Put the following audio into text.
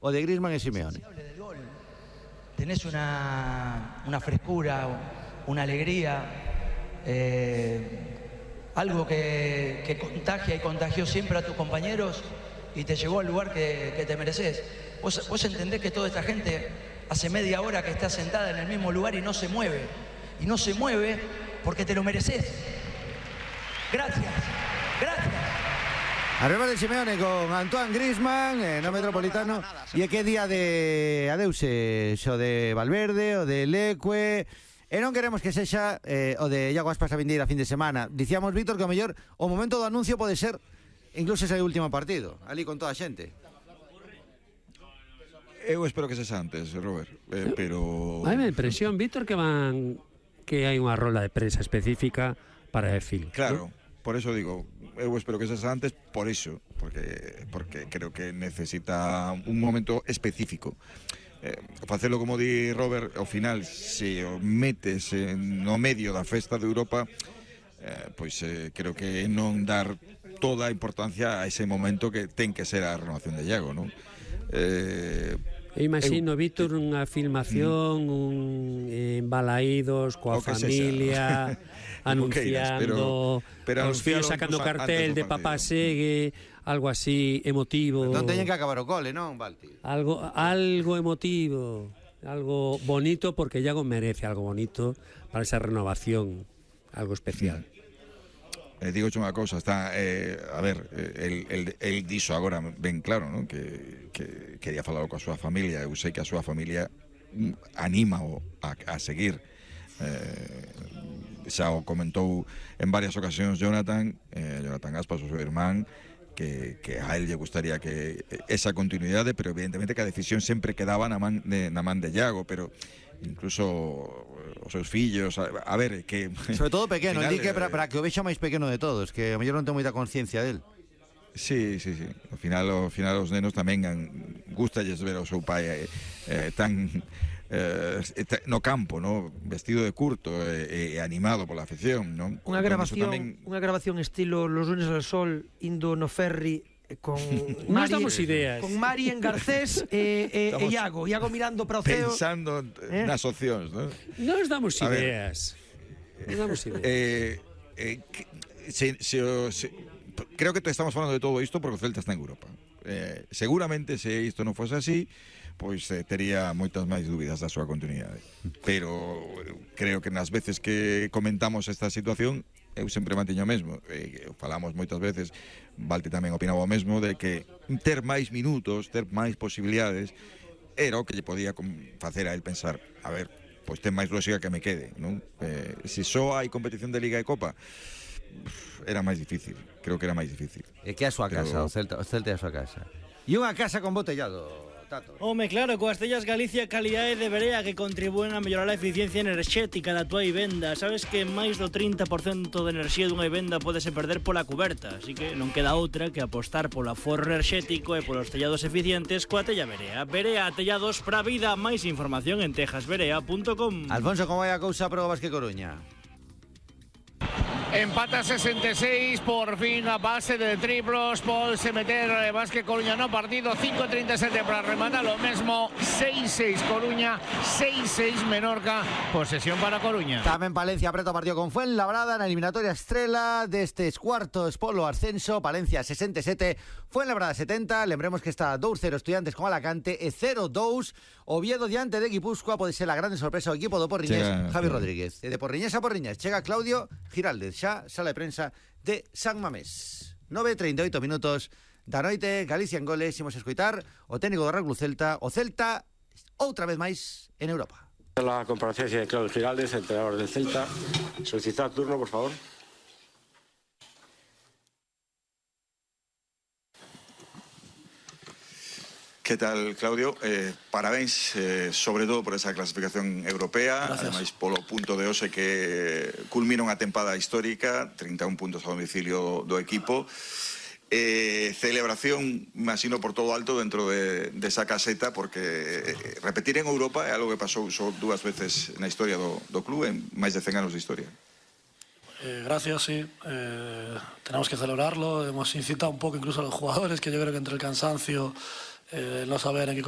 o de Griezmann e Simeone. Tenés una frescura, una alegría, algo que contagia y contagió siempre a tus compañeros y te llevó al lugar que te mereces. Vos entendés que toda esta gente hace media hora que está sentada en el mismo lugar y no se mueve. Y no se mueve porque te lo mereces. Gracias, gracias. Arriba de Simeone con Antoine Griezmann no Metropolitano. E que día de adeuse o de Valverde, o de Leque. E non queremos que sexa o de Iago Aspas a vindeira fin de semana. Dicíamos, Víctor, que o mellor o momento do anuncio pode ser incluso ese último partido, ali con toda a xente. Eu espero que sexa antes, Robert, pero... Hai a impresión, Víctor, que hai unha rola de prensa específica para el film. Claro, ¿no? Por eso digo, eu espero que sexa antes, por iso, porque creo que necesita un momento específico. Facelo como di Robert, ao final, se o metes no medio da festa de Europa, pois creo que non dar toda a importancia a ese momento que ten que ser a renovación de Iago, non? Imagino, Víctor, unha filmación, un balaídos coa familia, anunciando, pero os fillos sacando cartel de papá segue, algo así emotivo. Non teñen que acabar o cole, non, Valti? Algo emotivo, algo bonito, porque Iago merece algo bonito para esa renovación, algo especial. Digoche unha cousa, está, a ver, el dixo agora ben claro, non? Que quería falar coa súa familia. Eu sei que a súa familia anímao a seguir. Xa o comentou en varias ocasións Jonathan Aspas, o seu irmán, que a él lle gustaría que esa continuidade, pero evidentemente que a decisión sempre quedaba na man de Iago, pero incluso os seus fillos, a ver, que sobre todo pequeno, final, di que para que o vexa máis pequeno de todos, que a mellor non ten moita conciencia del. Sí. Ao final os nenos tamén gustalles ver ao seu pai tan no campo, ¿no? Vestido de curto e animado pola afición, ¿no? Unha grabación estilo Los lunes al sol, indo no ferry con Mari, damos ideas. Con Mari en Garcés e Iago mirando para o ceo, pensando nas opcións, ¿no? Nos damos ideas. Creo que estamos falando de todo isto porque o Celta está en Europa. Seguramente se isto non fose así, pois tería moitas máis dúbidas da súa continuidade. Pero creo que nas veces que comentamos esta situación, eu sempre manteño o mesmo. Falamos moitas veces, Valti tamén opinaba o mesmo, de que ter máis minutos, ter máis posibilidades, era o que lle podía facer a él pensar, a ver, pois ten máis lógica que me quede, non? Se só hai competición de Liga e Copa, era máis difícil, creo que era máis difícil. E que é a súa casa, o Celta é a súa casa. E unha casa con botellado, Tato. Home, claro, coas tellas Galicia calidade de verea que contribúen a mellorar a eficiencia enerxética da tua vivenda. Sabes que máis do 30% de enerxía dunha vivenda podese perder pola cuberta, así que non queda outra que apostar polo aforro enerxético e polos tellados eficientes coa tella Verea. Verea, tellados pra vida. Máis información en tejasverea.com. Alfonso, como vai a cousa pro Basque Coruña? Empata 66, por fin a base de triplos, Paul se meter Basque Coruña no partido, 5:37 para rematar lo mesmo, 6-6 Coruña, 6-6 Menorca, posesión para Coruña. Tamén Palencia apreta o partido con Fuenlabrada na eliminatoria estrela destes cuartos polo ascenso. Palencia 67, Fuenlabrada 70. Lembremos que está 2-0 Estudiantes con Alacante e 0-2 Oviedo diante de Guipúzcoa. Pode ser a grande sorpresa o equipo do Porriñés, Javi Rodríguez. E de Porriñés a Porriñés chega Claudio Giraldez, xa sala de prensa de San Mamés. 9:38 minutos da noite, Galicia en goles. Imos escoitar o técnico do Real Club Celta, o Celta outra vez máis en Europa. La comparecencia de Claudio Giraldez, entrenador del Celta. Solicitar turno, por favor. ¿Qué tal, Claudio? Parabéns, sobre todo por esa clasificación europea. Gracias. Ademais, polo punto de hoxe que culmina unha tempada histórica, 31 puntos a domicilio do equipo. Celebración, imagino, por todo alto dentro de esa caseta, porque repetir en Europa é algo que pasou só 2 veces na historia do club, en máis de 100 anos de historia. Gracias, sí. Tenemos que celebrarlo. Hemos incitado un poco incluso a los jugadores, que yo creo que entre el cansancio, no saber en qué competición